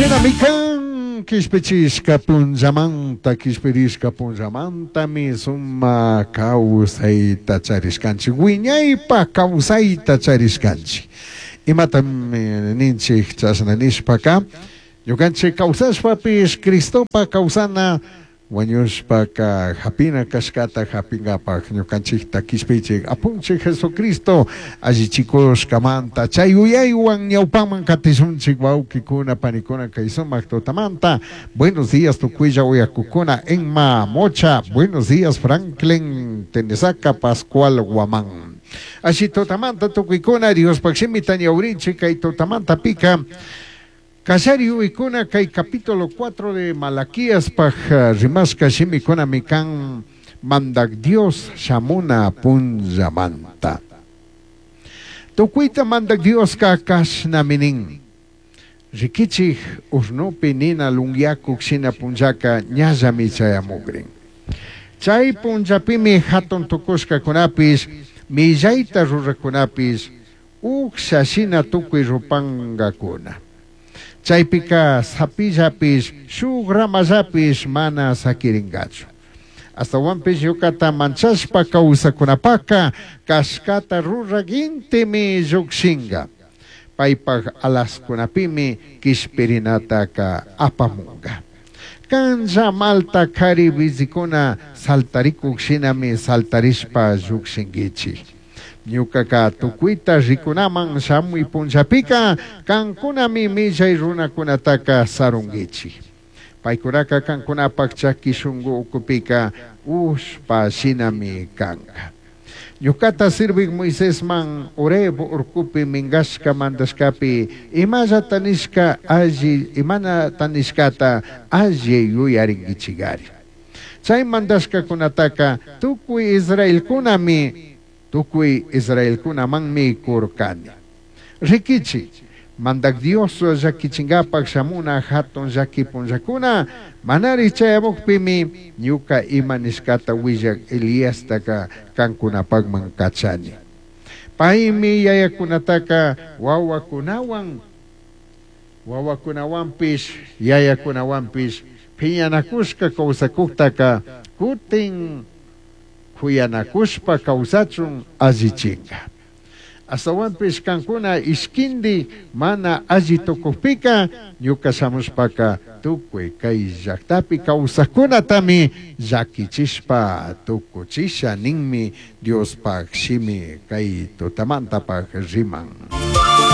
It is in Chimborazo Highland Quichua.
Shinami kan kishpichishka punllamanta, kishpirishka punllamantami sumak kawsayta charishkanchik, wiñaypak kawsayta charishkanchik. Imatami ninchik chashna nishpaka, ñukanchik kawsashpapish Cristopa kawsana wañushpaka hapina kashkata hapinkapak ñukanchikta kishpichik apunchik Jesucristo allichikushkamanta chay yuyaywan ñawpaman katishunchik wawkikuna panikuna kay sumak tutamanta. Buenos días tukuylla uyakukuna Emma Mocha, buenos días Franklin Tenesaca Pascual Guamán. Ashi tutamanta tukuykuna Diospak shimita ñawrinchik kay tutamanta pika Kallari yuyaykuna kay capítulo 4 de Malaquíaspaj rimashka shimikunami kan Mandak Dios shamuna punllamanta. Tukuyta Mandak Dioska kashnami nin. Rikichik urnupi nina lunyakuk shina punllaka ñallami chayamukrin. Chay punllapimi hatun tukushkakunapish, millayta rurakunapish, uksha shina tukuy rupankakuna. Chaypika sapillapish, shuk ramallapish mana sakirinkachu. Ashtawanpish ñukata manchashpa kawsakunapaka kashkata rurak intimi llukshinka. Paypak alaskunapimi kishpirinataka apamunka. Kanlla malta kari bizikuna saltarikuk shinami saltarishpa llukshinkichik. Ñukaka tukuyta rikunaman shamuy punllapika kankunami millay runakunataka sarunkichik. Paykunaka kankunapak chaki shunku ukupika ushpa shinami kanka. Ñukata sirvik Moisesman Horeb urkupi minkashka mandashkapi imallata nishka alli imanata nishkata alli yuyarinkichikari. Chay mandashkakunataka tukuy Israelkunami tukuy Israelkunamanmi kurkani. Rikichik, Mandak Dios llakichinkapak shamuna hatun llaki punllakuna manari chayamukpimi ñuka ima nishkata willak Eliastaka kankunapakman kachani. Paymi yayakunataka wawakunawan wawakunawanpish yayakunawanpish phiñanakushka kawsakuktaka kutin kuyanakushpa kawsachun allichinka. Ashtawanpish kankuna ishkindi mana alli tukukpika ñuka shamushpaka tukuy kay llaktapi kawsakkunatami llakichishpa tukuchisha ninmi Diospak shimi kay tutamantapak riman.